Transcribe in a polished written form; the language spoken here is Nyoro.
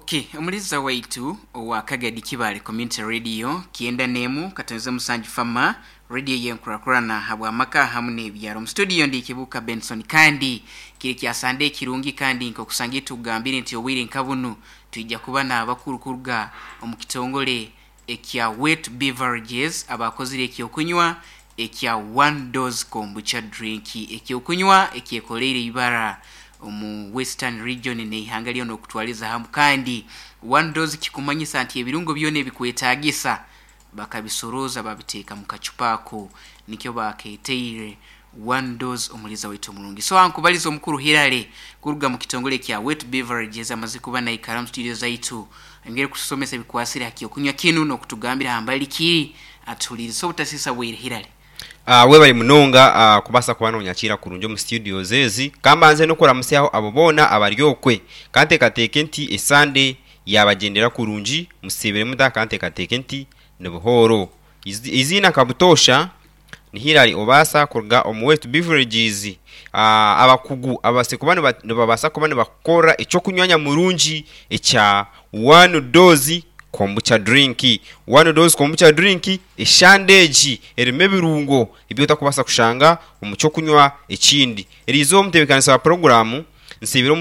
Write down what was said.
Okay, omuliza waitu owa Kagadi Kibale Community Radio 97.7 Fama radio yenkurakurana habw'amaka hamu n'ebyaro. Mu studio ndi Kibuka Benson, kandi kiri kya Sande kirungi, kandi nk'okusanga tugambire nti obwire nka bunu twija kuba n'abakuru kuruga omu kitongole ekya Wet Beverages abakozire ekyokunywa ekya One Dose Kombucha Drink, ekyokunywa ekyekoleire ibara omu Western Region n'eihanga lyona okutwaliza hamu. Kandi One Dose kikumanyisa nti ebirungo byona ebikwetaagisa bakabisoroza babiteeka mu kacupa ako, nikyo baketeire One Dose. Omuliza waitu omurungi, so ankubaliza omukuru Hirale kuruga mu kitongole kya Wet Beverages amaze kuba naikara mu studio zaitu, engeri kutusomesa ebikwasire ha kyokunywa kinu n'okutugambira hambali kiri atuhuliriza obutasisa bwire. Hirale. Webale munonga kubaasa kuba nonyakiira kurungi omu studios ezi. Kambanze n'okuramutsyaho abo boona abari okwe. Kanteekateeke nti esande yabagyendera kurungi, musiibire muta? Kanteekateeke nti ni buhooro. Eiziina nka butoosha ni Hillary Obaasa kuruga omu West Beverages. Abakugu ababaasize kuba nibabaasa kuba nibakukorera eky'okunywa nyamurungi ekya One Dose Kombucha Drink. One Dose Kombucha Drink eshande egi erimu ebirungo ebi otakubaasa kushanga omu ky'okunywa ekindi. Eriizooba omutebeekanisa wa puroguraamu nsiibire omu.